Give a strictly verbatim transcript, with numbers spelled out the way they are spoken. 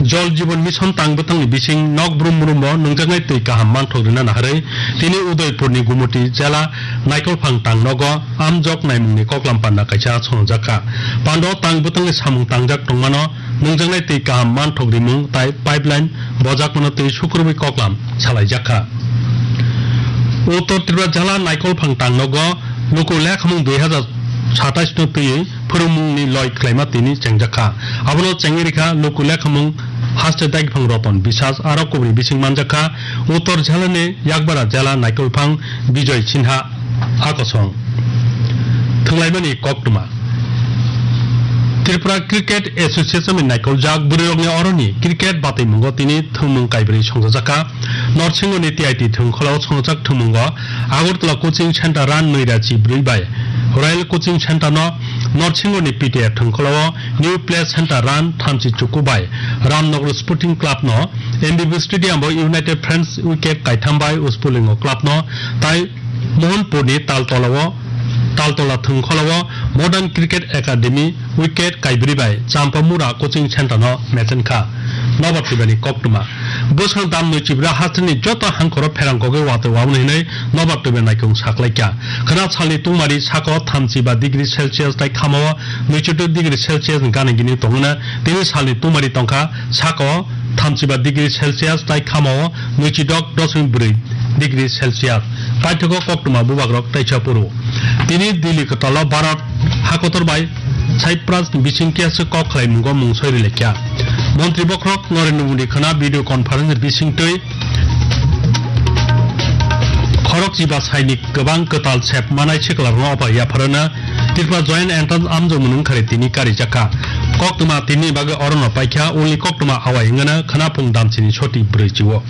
Jal Jeevan Mission tang bwtangni bising nok brum brumbo nwngjaknai twi kaham manthok rina naharwi tini Udaipurni Gumuti jela Naikolphang tang nogo amjok naimungni koklam panda kaisa swngjak kha. Panda o tang bwtangni samung tangjak tongmano nwngjaknai twi kaham manthok rimung tai pipeline bojakmano twi sukrubwi koklam salaijakha. Uttor Tripura jala Naikolphang tangnogo luku lekhamung dui hazar satais no twiwi phwrwngmungni loi khlaima tini chengjakha. Abono chengwi rikha luku lekhamung haste daiphang Roton Biswas aro kubri bising manjakha Uttor jalani Yakbara jala Naikolphang Bijoy Sinha. Akosong thwnglaimani koktwma. Tripura Cricket Association ni naikoljak bwrwirokni oroni cricket bataimungo tini thwngmung kaibrwi songchajakha. Norsingoni T I T thwngkholo songchak thwngmungo Agartala Coaching Center run nwi rachi bwrwi bai Royal Coaching Center no Norsingoni P T A thwngkholo New Play Center run thamchi chuku bai Ramnagar Sporting Club no M B B Stadium bo United Friends wicket kaitham bai Uspulingo Club no tai Mohanpurni Taltolao, Taltola thwngkholao Modern Cricket Academy wicket kaibrwi bai Champamura Coaching Center no mechenkha. Nobar twibani koktwma. Bwskang dam nwi chibra hasteni joto hangkhoro pherang kogwi watwi waboni hinwi nobar twiba naikung saklaikha. Khwna salni tungmari sako thamchi ba degree Celsius tai khamao nwichido degree Celsius ni gana gini tongwna tini salni tungmari tongkha sako thamchi ba degree Celsius tai khamao nwichidok dosmik bwrwi degree Celsius. Paithago koktwma bubagrok teisa phuru. Tini Delhi kwtalo Bharat hakotor bai Cyprus ni bising khe kok khlai mungo mungsoi rilaikha. Montri bokhorok Narendra Modi khwna video conference bising twi khorok chiba sainik kwbang kwtal sep manai siklarno opa yapharana Tripura Joint Entrance amjokmung wngkhari tini karijakha. Koktwma tini bagwi orono paikha, ulni koktwma awai wngana khwnaphung damchini soti brwi chio.